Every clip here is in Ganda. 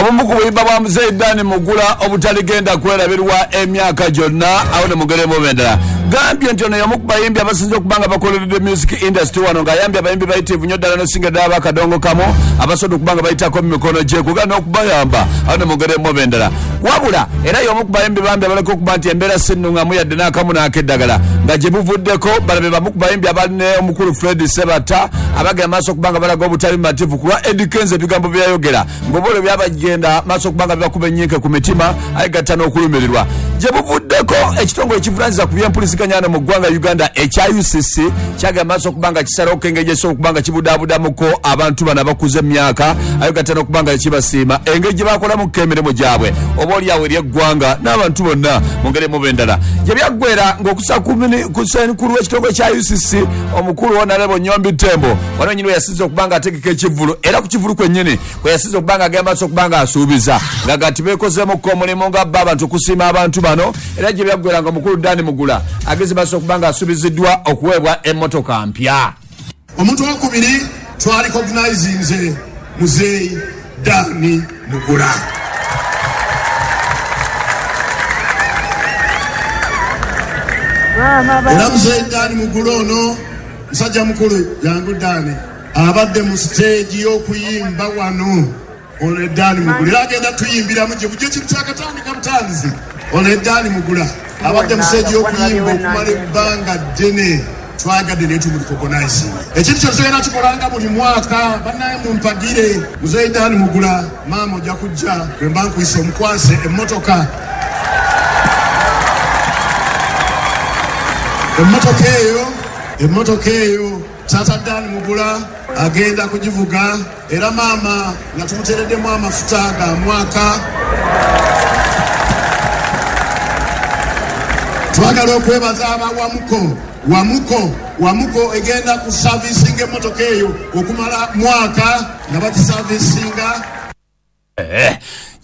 Obumu ku buyimba bwa Muzeeyi Dan Mugula obutaligenda kwerabirwa emyaka gyonna awo ne mugeremu endala. Gambye nti ono y'omu ku bayimbi abasinze okuba nga bakoleredde music industry wano ng'ayambye abayimbi bayitirivu nnyo ddala n'osinga ddala abakadongo kamu abasobola okuba nga bayitako mu mikono gye kuga n'okubayamba awo ne mugeremu endala. Wabula era y'omu ku bayimbi bambi abaleka okuba nti embeera si nnung'amu yadde n'akamu n'ak'eddagala nga gye buvuddeko balabe bamu ku bayimbi abali ne omukulu Fred Ssebatta abagenda maaso okuba nga balaga obutali bumativu ku lwa Eddy Kenzo ebigambo bye yayogera ng'oba olwo byabagenda maaso okuba nga bibakuba ennyinke ku mitima aye gatta n'okulumirirwa. Gye buvuddeko ekitongole ekivunaanyizibwa ku by'empuliziganya wano mu ggwanga Uganda ekya UCC kyagenda maaso okuba nga kisalawoko engeri gye kisobola okuba nga kibudaabudamuko abantu bano abakuze mu myaka aye gatta n'okuba nga kibasiima engeri gye bakolamuko emirimu gyabwe oba oli awo eri eggwanga n'abantu bonna mu ngeri emu oba endala. Gye byaggwera ng'okusa ku ssenkulu w'ekitongole kya UCC omukulu Honarebo Nyombi Thembo wano wennyini we yasinze okuba nga ategeka ekivvulu era ku kivvulu kwennyini kwe yasinze okuba nga agenda maaso okuba nga asuubiza nga gati beekozeemukko omulimu nga bo abantu okusiima abantu bano era gye byaggwera nga omukulu Dan Mugula ageze maaso okuba nga asuubiziddwa okuweebwa emmotoka mpya. Omuntu owokubiri twalikoginayizinze Muzeeyi Dan Mugula. Era Muzeeyi Dan Mugula ono musajja mukulu, jangu Dan, abadde mu siteegi y'okuyimba wano. Ono ye Dan Mugula era agenda tuyimbiramu gye bujja ekintu kyakatandika butandizi. Ono ye Dan Mugula abadde mu siteegi y'okuyimba okumala ebbanga ddene. Twayagadde naye tumurikogonaizinge. Ekintu kino tugenda kikolanga buli mwaka. Bannaye mumpagire. Muzeeyi Dan Mugula, maama ojja kujja bwe mba nkuyise omukwase emmotoka. Emmotoka eyo, emmotoka eyo taata Dan Mugula agenda kugivuga era maama nga tumuteereddemu amafuta ga mwaka. Twagala okwebaza aba Wamuko. Wamuko, Wamuko egenda kusavisinga emmotoka eyo okumala mwaka nga bagisavisinga.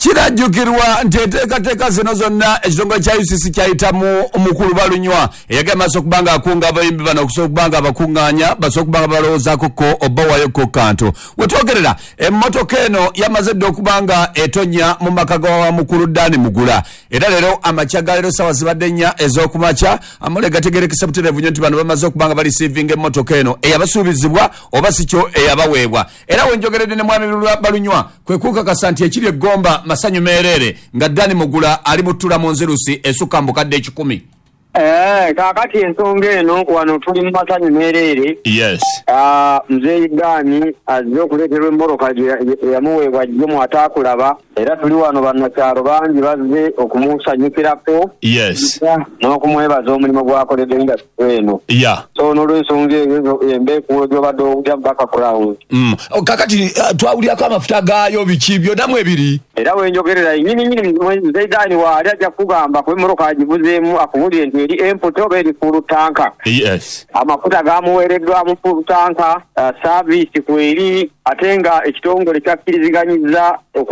Kirajjukirwa nti enteekateeka zino zonna ekitongole kya UCC kyayita mu mukulu Balunywa eyagenda maaso okuba nga akunga abayimbi bano okusobola okuba nga abakuŋŋaanya basobole okuba nga balowoozaako ko obawayo ko kantu. Wetwogerera emmotoka eno yamaze dda okuba nga etonnya mu maka ga mukulu Dan Mugula era leero amakya ga leero ssaawa zibadde nnya ez'okumakya amawulire gategeerekese butereevu nnyo nti bano bamaze okuba nga balisiivinga emmotoka eno eyabasuubizibwa oba si kyo eyabaweebwa. Era we njogeredde ne Mwami Balunywa kwe kunkakasa nti ekiri e Gomba masanyu meereere nga Dan Mugula ali mu ttula mu nzirusi esukka mu bukadde ekikumi. Eeh kaakati ensonga eno wano tuli mu masanyu meereere. Yes. Mzeei Dan azze okuleeterwa emmoroka eyamuweebwa jjo mu Ataakulaba era tuli wano bannakyalo bangi bazze okumusanyukirako Yes. n'okumwebaza omulimu gw'akoledde industry eno. Yeah. So n'olwensonga eyo emba ekuulo gy'obadde owulira mu background. Kakati twawuliraku amafuta gaayo biki byona mwebiri. Era wenjogerera nyini nyini Mzei Dan waali aja kukugamba kuba emmotoka agivuzeemu akubulire nti eri empty oba eri full tanka. Yes. Amafuta gaamuweereddwamu full tanka, service kweri ate nga ekitongole kyakkiriziganyiza.